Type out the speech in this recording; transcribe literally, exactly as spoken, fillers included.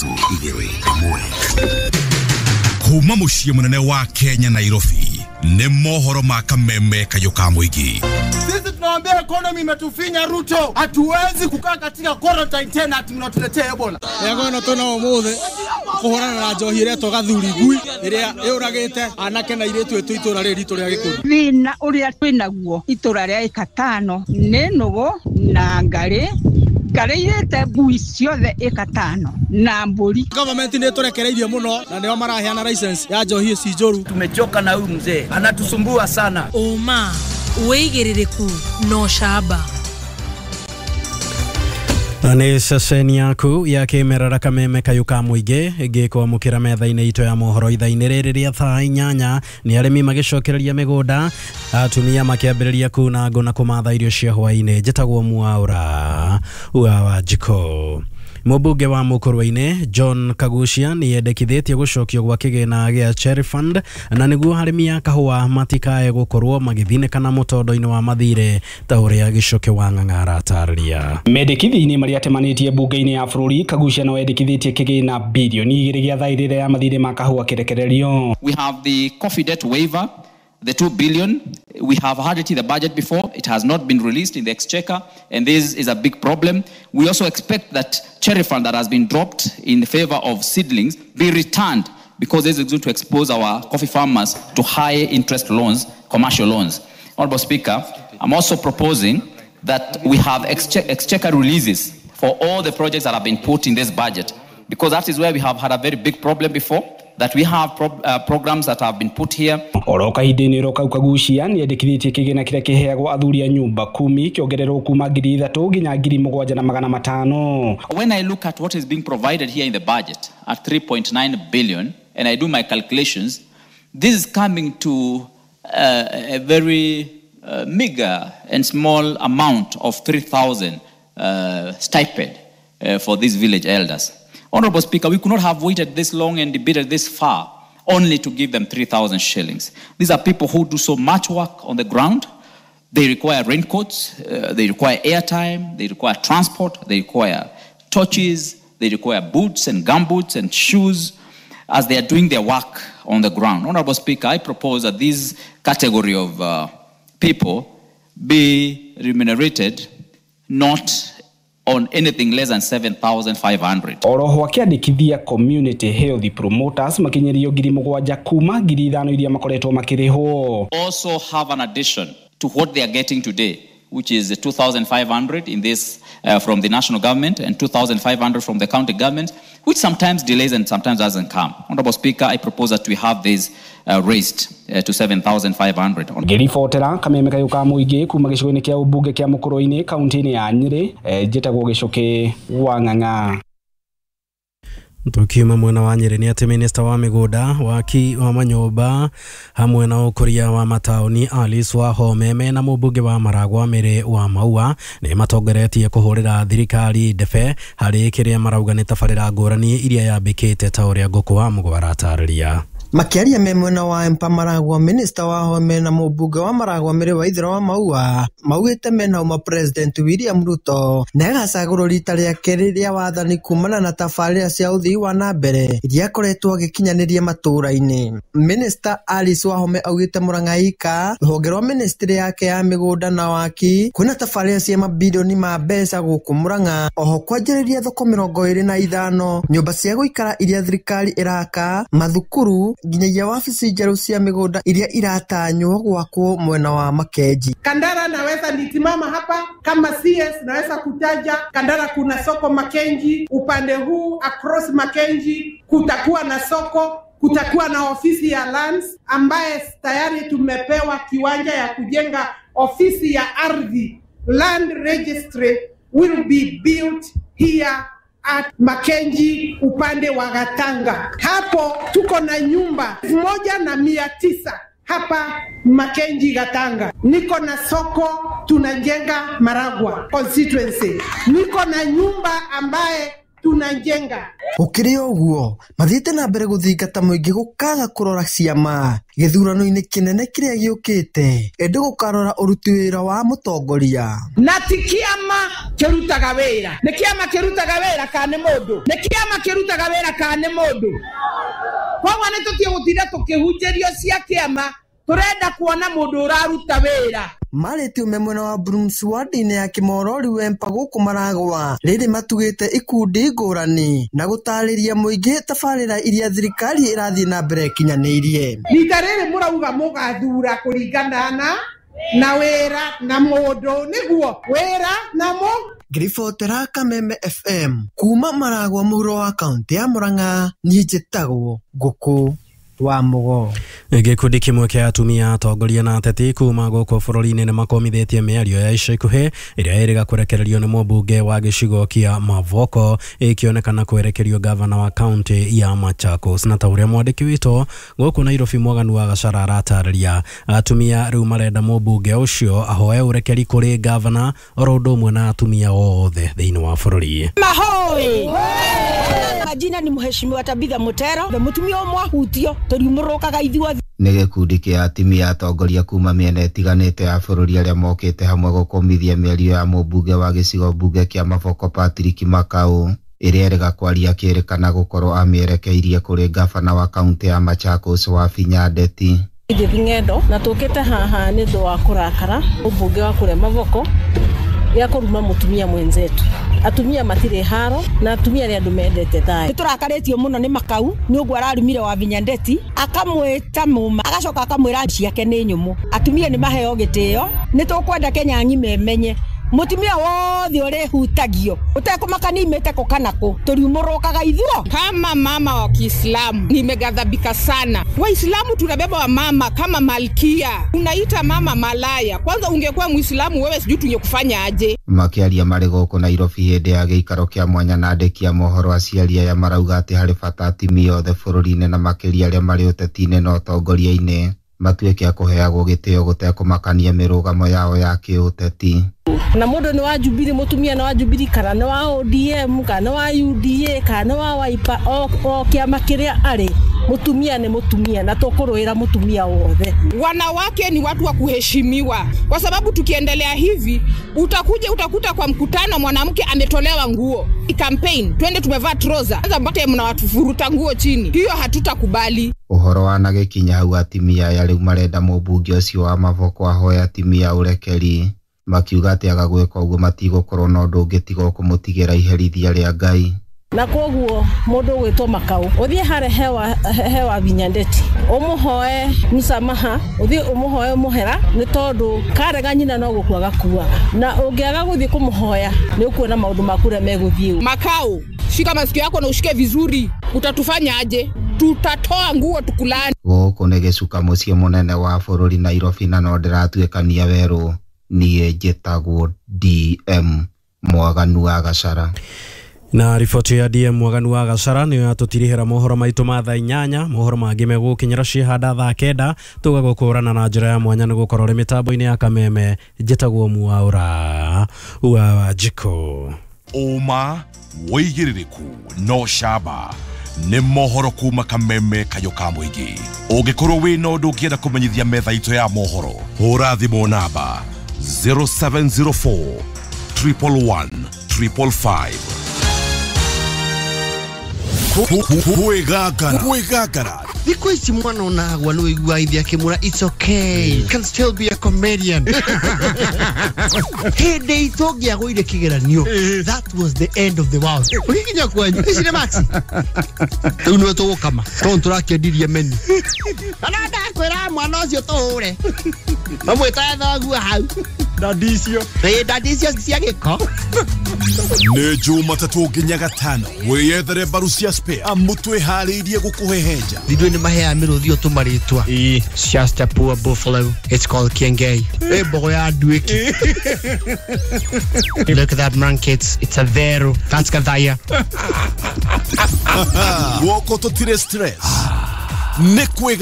Nuthu igĩrĩ ĩmwe. Kuma mũciĩ mũnene wa Kenya Nairobi nĩ mohoro ma kameme kayũ ka mũingĩ. Sisi tunawaambia economy imetufinya Ruto, hatuwezi kukaa katika quarantine tena ati mnatuletea Ebola. Yego no tuna umuthi kuhurana na njohi iretwo gathuri ngui iria yuragite anake na iritu itu itura riri ritu ria Gikuyu. Thina uria twinaguo itura ria ikatano ni nugu na ngari ngari irete ngui ciothe ikatano na mburi. Government ni turekereirie muno na nio maraheana license ya njohi ici njuru. Tumechoka na huyu mzee, anatusumbua sana. Uma wigiririku no shaba. Na nĩ ceceni yaku ya kĩmerera kameme kayũ ka mũingĩ ĩngĩkwamũkĩra metha-inĩ itũ ya mohoro ithaa-inĩ rĩrĩ rĩa thaa inyanya. Nĩ arĩmi magĩcokereria mĩgũnda, atumia makĩambĩrĩria kuna ngũ na kũmatha irio cia hwaĩ-inĩ. Njĩtagwo Mwaura wa Wanjikũ. Mũmbunge wa Mũkũrwe-inĩ John Kagucia nĩ endekithĩtie gũcokio gwa kĩgĩna gĩa Cherry Fund na nĩguo arĩmi a kahũa matikae gũkorwo magĩthinĩkana mũtondo-inĩ wa mathirĩ ta ũrĩa Gĩcoke wa Ng'ang'a aratarĩria. Mendekithia-inĩ marĩa atemanĩtie mbunge-inĩ ya bũrũri, Kagucia no endekithĩtie kĩgĩna bilioni igĩrĩ gĩa thaĩrĩra ya mathirĩ ma kahũa kĩrekererio. We have the coffee debt waiver, the two billion. We have had it in the budget before. It has not been released in the exchequer, and this is a big problem. We also expect that Cherry Fund that has been dropped in favor of seedlings be returned, because this is going to expose our coffee farmers to high interest loans, commercial loans. Honorable Speaker, I'm also proposing that we have exche- exchequer releases for all the projects that have been put in this budget, because that is where we have had a very big problem before, that we have pro uh, programs that have been put here. Oro kahinda-inĩ oro kau Kagucia nĩ endekithĩtie kĩgĩna kĩrĩa kĩheagwo athuri a nyũmba kumi kĩongererwo kuma ngiri ithatũ nginya ngiri mũgwanja na magana matano. When I look at what is being provided here in the budget at three point nine billion, and I do my calculations, this is coming to uh, a very uh, meager and small amount of three thousand uh, stipend uh, for these village elders. Honorable Speaker, we could not have waited this long and debated this far only to give them three thousand shillings. These are people who do so much work on the ground. They require raincoats, uh, they require airtime, they require transport, they require torches, they require boots and gumboots and shoes as they are doing their work on the ground. Honorable Speaker, I propose that this category of uh, people be remunerated not on anything less than seven thousand five hundred. Oroho akĩandĩkithia community health promoters makinyĩrio ngiri mũgwanja kuma ngiri ithano iria makoretwo makĩrĩhwo. Also have an addition to what they are getting today, which is two thousand five hundred in this uh, from the national government and two thousand five hundred from the county government, which sometimes delays and sometimes doesn't come. Honorable Speaker, I propose that we have this uh, raised uh, to seven thousand five hundred. Ngĩribotera kameme kayũ ka mũingĩ kuma gĩcigo-inĩ kĩa ũmbunge kĩa Mũkũrwe-inĩ kaunti-inĩ ya Nyĩrĩ, njĩtagwo Gĩcoke wa Ng'ang'a. Tukiuma mwena wa Nyĩrĩ nĩ atĩ minista wa mĩgũnda, waki wa manyũmba hamwe na ũkũria wa mataũni Alice Wahome mena mũmbunge wa Maragwa Mary wa Maua nĩ matongoretie kũhũrĩra thirikari ndebe harĩ kĩrĩa marauga nĩ tabarĩra ngũrani iria yambĩkĩte ta ũrĩa Ngũkũ wa Mũgwa aratarĩria. Makiaria me mwena wa Empa Maragwa, minista Wahome na mũmbunge wa Maragwa Mary Waithera wa Maua maugĩte mena ũma President William Ruto na agacagũrwo rita rĩa kerĩ rĩa wathani kumana na tabarĩra cia ũthii wa na mbere iria akoretwo agĩkinyanĩria matũũra-inĩ. Minista Alice Wahome augĩte Mũrang'aika rũhonge rwa ministry yake ya mĩgũnda na waki kwĩna tabarĩra cia mabirioni ma mbeca gũkũ Mũrang'a, oho kwanjĩrĩria thoko mĩrongo ĩrĩ na ithano, nyũmba cia gũikara iria thirikari ĩraka, mathukuru nginyagia wabici njerũ cia mĩgũnda iria iratanywo gwakwo mwena wa Makenji. Kandara naweza nitimama hapa kama C S naweza kutaja Kandara kuna soko Makenji, upande huu across Makenji kutakuwa na soko, kutakuwa na ofisi ya lands ambaye tayari tumepewa kiwanja ya kujenga ofisi ya ardhi. Land registry will be built here at Makenji upande wa Gatanga. Hapo tuko na nyumba moja na mia tisa hapa Makenji Gatanga. Niko na soko tunajenga Maragwa constituency. Niko na nyumba ambaye Tunajenga. Gũkĩrĩ ũguo mathiĩte na mbere gũthingata mũingĩ gũkaga kũrora ciama gĩthurano-inĩ kĩnene kĩrĩa gĩũkĩte ĩndĩ gũkarora ũruti wĩra wa mũtongoria. Na ti kĩama kĩrutaga wĩra, nĩ kĩama kĩrutaga wĩra kana nĩ mũndũ, nĩ kĩama kĩrutaga wĩra kana nĩ mũndũ. Koguo nĩ tũtige gũtinda tũkĩhunjĩrio cia kĩama, tũrenda kuona mũndũ ũraruta wĩra. Marĩtie ume mwena wa Brooms ward-inĩ ya Kimorori Wempa gũkũ Maragwa rĩrĩ matugĩte ikundi ngũrani na gũtarĩria mũingĩ tabarĩra iria thirikari ĩrathiĩ na mbere ĩkinyanĩirie. Rita rĩrĩ mũrauga mũgathura kũringana na na wĩra na mũndũ, nĩguo wĩra na mũ. Ngĩribotera Kameme F M kuma Maragwa mũhuro wa kaunti ya Murang'a, niĩ njĩtagwo Ngũkũ wa Mũgo. Gĩkundi kĩmwe kĩa atumia atongoria na ateti kuma gũkũ bũrũri-inĩ nĩ makomithĩtie mĩario ya ica ikuhĩ ĩrĩa ĩrĩga kũrekererio nĩ mũmbunge wa gĩcigo kĩa Mavoko ĩkĩonekana kwerekerio gavana wa kaunti ya Machakos. Na ta ũrĩa mwandĩki witũ gũkũ Nairobi Mwaganu wa Gachara aratarĩria, atumia rĩu marenda mũmbunge ũcio ahoe ũrekeri kũrĩ gavana oro ũndũ ũmwe na atumia othe thĩinĩ wa bũrũri. Mahoi! Majina ni Mheshimiwa Tabitha Mutero, mũtumia ũmwe ahutio tũriumũrũkaga ithuothe. Nĩ gĩkundi kĩa atumia atongoria kuma mĩena ĩtiganĩte ya bũrũri arĩa mokĩte hamwe gũkũmithia mĩario ya mũmbunge wa gĩcigo mbunge kĩa Mavoko Patrick Makau ĩrĩa ĩrega kwaria kĩrĩkana gũkorwo amĩerekeirie kũrĩ gavana wa kaunti ya Machakos Wavinya Ndeti. Edith Ng'endo na tũkĩte haha nĩ ũndũ wa kũrakara mũmbunge wa kũrĩa Mavoko ya kũruma mũtumia mwenzetu. Atumia matirĩ haro na atumia nĩ andũ mendete thayũ. Nĩ tũrakarĩtio mũno nĩ Makau nĩ ũguo ararumire Wavinya Ndeti akamwĩta mũma agacoka akamwĩra ciake nĩ nyũmũ. Atumia nĩ maheo gĩtĩo, nĩ tũkwenda Kenya ng'ima ĩmenye mũtumia wothe ũrĩhutagio ũtekũmakania imĩte kũ kana kũ tũriumũrũkaga ithuo. Kama mama wa Kiislamu nimeghadhabika sana. Waislamu tunabeba wa mama kama malkia, unaita mama malaya. Kwanza ungekuwa Muislamu wewe sijui tungekufanya aje. Makĩaria marĩ gũkũ Nairobi hĩndĩ ya gĩikaro kĩa mwanya na andĩki a mohoro aciari aya marauga atĩ harĩ bata atumia othe bũrũri-inĩ na makĩria arĩa marĩ ũteti-inĩ na ũtongoria-inĩ matuĩke a kũheagwo gĩtĩo gũtekũmakania mĩrũgamo yao ya kĩũteti. Na mũndũ nĩ wa Jubilee, mũtumia nĩ wa Jubilee kana nĩ wa O D M kana nĩ wa U D A kana nĩ wa Wiper, o, o kĩama kĩrĩa arĩ, mũtumia nĩ mũtumia na tũkũrũĩra mũtumia wothe. Wanawake ni watu wa kuheshimiwa, kwa sababu tukiendelea hivi utakuja utakuta kwa mkutano mwanamke ametolewa nguo. Campaign twende tumevaa trouser, sasa mbote mnawatufuruta nguo chini, hiyo hatutakubali. Ũhoro wanagĩkinya hau atumia aya rĩu marenda mũmbunge ũcio wa Mavoko ahoe atumia ũrekeri, makiuga atĩ aga gwĩka ũguo matigũkorwo na ũndũ ũngĩ tiga kũmũtigĩra iherithia rĩa Ngai. Na koguo mũndũ ũgwĩtwo Makau ũthiĩ harĩ hewa hewa Wavinya Ndeti ũmũhoe msamaha, ũthiĩ ũmũhoe mũhera nĩ tondũ karega nyina no gũkua gakuaga, na ũngĩaga gũthiĩ kũmũhoya nĩ ũkuona maũndũ maku ũrĩa megũthiĩ. Makau, shika masikio yako na ushike vizuri, utatufanya aje? Tutatoa nguo tukulani. Gũkũ nĩ gĩcuka mũciĩ mũnene wa bũrũri Nairobi na no ndĩratuĩkania werũ. Niĩ njĩtagwo D M Mwaganu wa Gachara. Na riboti ya D M Mwaganu wa Gachara nĩyo yatũtirihĩra mohoro maitũ ma thaa inyanya. Mohoro mangĩ megũkinyĩra ciĩhanda thaa kenda tũgagũkũrana na njĩra ya mwanya nĩ gũkorwo ũrĩ mĩtambo-inĩ ya Kameme. Njĩtagwo Mwaũra wa Wanjikũ. Ũma wĩigĩrĩrĩku no camba nĩ mohoro kuma Kameme kayũ ka mũingĩ. Ũngĩkorwo wĩna ũndũ ũngĩenda kũmenyithia metha itũ ya mohoro, hũra thimũ namba zero seven zero four triple one triple five. Kwĩgangara. Thikũ ici mwana onagwa nĩ ũiguaga ithe akĩmwĩra it's okay, you can still be a comedian. Hĩndĩ itũ ũngĩagũire kĩgeranio, that was the end of the world. Ũgĩkinya kwanyu ici nĩ maxi rĩu nĩwe tũgũkama tondũ tũrakĩendirie menu. Kana ndakwĩra mwana ũcio tũhũre mamwĩtaga thoguo hau ndandi icio ĩĩ ndandi icio cia gĩko. Nĩ Jumatatũ nginya Gatano wĩyethere mbaru cia spare amu twĩharĩirie gũkũhehenja. Ithuĩ nĩ maheaga mĩrũthi o tũmarĩtwa. It's just a poor buffalo, it's called Kiengei. Ĩ mbogo ya nduĩki. Look at that man kids, it's a vero, that's Gathaya. Guoko tũtirĩ stress nĩ kwĩga.